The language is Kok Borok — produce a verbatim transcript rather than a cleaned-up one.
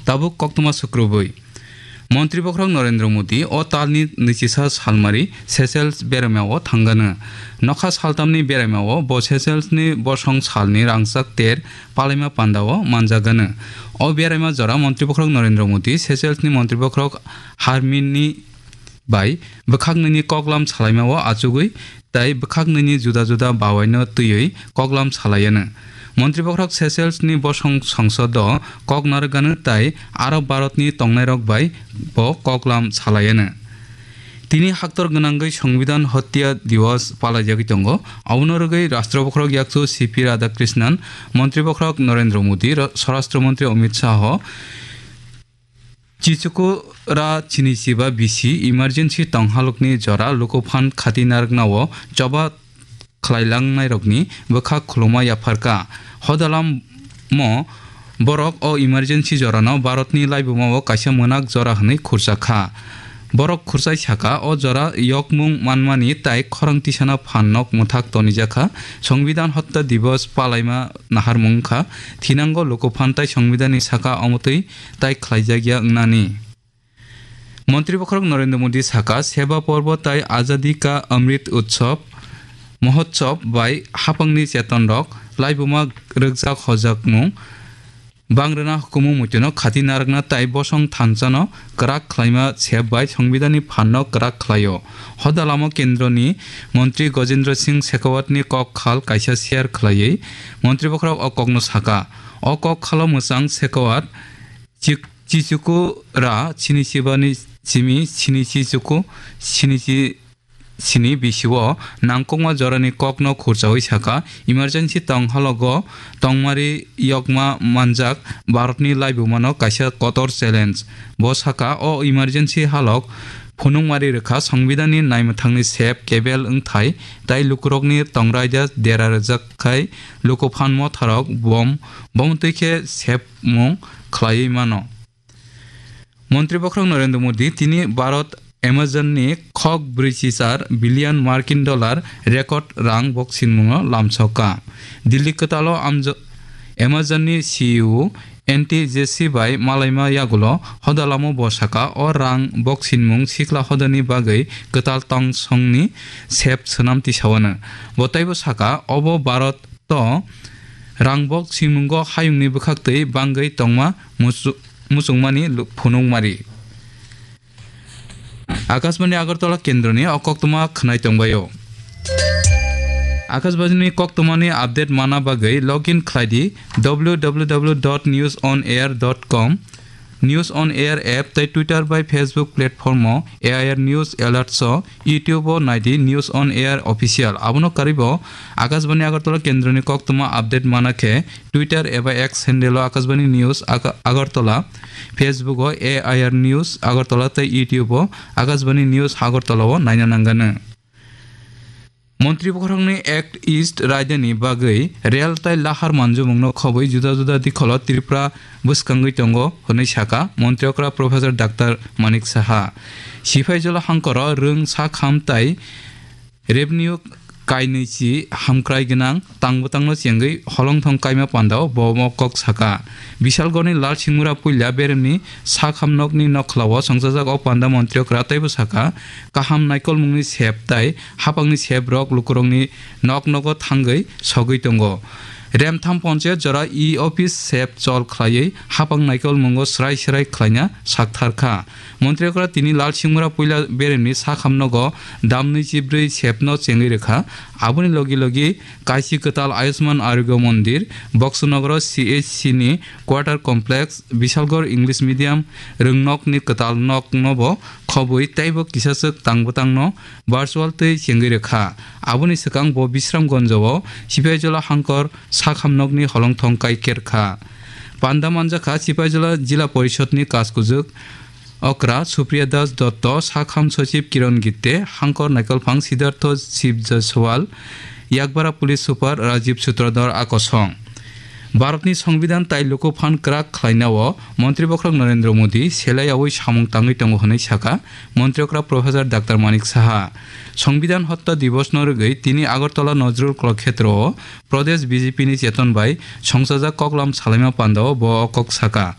Tabuk koktwma sukrubwi. Montri bokhorok Narendra Modi o talni nwichisa salmari Seychelles beraimao thangano. Nokha saltamni beraimao bo Seychellesni bosong salni rangchak ter palaima pandao manjagano. O beraima jora Montri bokhorok Narendra Modi Seychellesni Montri bokhorok Harmini bai bwkhaknwini koklam salaimao achugwi tei bwkhaknwini juda juda bawaino twiwi koklam salaiano. Montri bokhorok Seychellesni bosong songsodo kok narwkgano tei aro Bharatni tongnairok bai bo koklam salaiano. Tini haktor gwnangwi Songbidan Hotya Diwas palaijagwi tongo. Abono rwgwi Rashtra bokhorok yakchu C P Radhakrishnan, Montri bokhorok Narendra Modi, Ra-, Swarashtra Montri Amit Shah, Chichukura chini chiba bisi emergency tonghalokni jora lukuphan khati narwknao choba khlailangnairokni bwkha khuluma yapharkha. Hodalamo borok o emergency jorano Bharatni laibumao kaisa mwnak jora hwnwi khurchakha. Borok khurchai sakha, o jora yokmung manmani tai khorang tisana phan nok mwthak tonijakha. Songbidan Hotya Diwas palaima naharmung wngkha. Thinango lukuphan tai Songbidanni saka omotwi tai khlaijakya wngnani. Montri bokhorok Narendra Modi saka, Seva Porbo tai Azadi Ka Amrit Utsav Mahotsav bai hapangni chetonrok, laibuma rwkjak hojakmung, bangrwna hukumu muitunok khati narwkna tai bosong thansano kwrak khlaima sep bai Songbidanni phanno kwrak khlaio. Hodalamo kendroni montri Gajendra Singh Shekhawatni kok khal kaisa share khlaiwi montri bokhorok o kokno saka. O kok khalo mwchang Shekhawat Chik-, Chichukura chini chibani simi chini chichuku chini chi-, chini bisio nangkukma jorani kokno khurchawi saka, emergency tong halogo tongmari yokma manjak Bharatni laibumano kaisa kotor challenge. Bo saka, o emergency halok phunukmari rwkha, Songbidanni naimwthangni sep kebel wngthai tai lukurokni tongraida dera rwjak khai lukuphan motharok bom, bomtwi khe sepmung khlaiwi mano. Montri bokhorok Narendra Modi tini Bharat Amazon ni khok brwichi char billion Markin dollar record rang boksinmungno lamsokha. Delhi kwtalo Amzo-, Amazon ni C E O Andy Jassy bai malaima yagulo hodalamo bo saka, o rang boksinmung sikla hodani bagwi kwtal tongsongni sep swnam tisawano. Bo teibo saka, obo Bharat to rangbok swimungo hayungni bwkhaktwi bangwi tongma musu-, muchungmani lu-, phunukmari. Akashbani Agartala kendroni o koktwma khwnai tongbaio. Akashbani koktwmani update mana bagwi login khlai di W W W dot news on air dot com. News on Air app tei Twitter bai Facebook platform o A I R News Alerts o, YouTube o nai di News on Air Official. Abono karwi bo Akashbani Agartala kendroni koktwma update mana khe Twitter eba X handle o Akashbani News Aga-, Agartala, Facebook o A I R News Agartala tei YouTube o Akashbani News Agartala o naina nangnai. Montri bokhorokni Act East raidani bagwi rel tai lahar manjumungno khobwi juda juda dikholo Tripura bwskangwi tongo hwnwi sakha Montri okra Professor Doctor Manik Saha. Sipaijala hangkoro rwng sakham tai revenue kainwi chi hamkrai gwnang tang bwtangno chengwi holongthong kaima pandao bo mokok sakha. Bishalgorni Lal Singmura puila beremni sakham nokni nokhlao songchajak o panda Montri okra teibo sakha, kaham naikolmungni sep tai hapangni seprok lukurokni nok nogo thangwi sogwi tongo. Remtham ponchayat jora e-office sep chol khlaiwi hapang naikolmungo srai srai khlaina saktharkha. Montri okra tini Lal Singmura puila beremni sakham nogo damnwi chibrwi sepno chengwi rwkha. Aboni logi logi kaisi kwtal Ayushman Arogya Mondir, Boksonogoro C H C ni quarter complex, Bishalgor English medium rwngnokni kwtal nokno bo khobwi teibo kisachwk tang bwtangno virtual twi chengwi rwkha. Aboni swkang bo Bisramganjo o Sipaijala hangkor sakham nokni holongthong kai kerkha. Panda manjakha Sipaijala Jila Porishod ni Kajkujwk okra Supriya Das Dotto, sakham sochib Kiron Gitte, hangkor naikolphang Siddhartho Shiv Jaiswal, Yakbara Police Super Rajiv Sutradhar a kosong. Bharatni Songbidan tai luku phan kwrak khlainao Montri Bokhorok Narendra Modi selai yaui samung tangwi tongo hwnwi sakha Montri Okra Professor Doctor Manik Saha. Songbidan Hotta Divosno rwgwi tini Agartala Nazrul Kalakhetro o Pradesh B J P ni cheton bai songchajak koklam salaima pandao bo o kok sakha.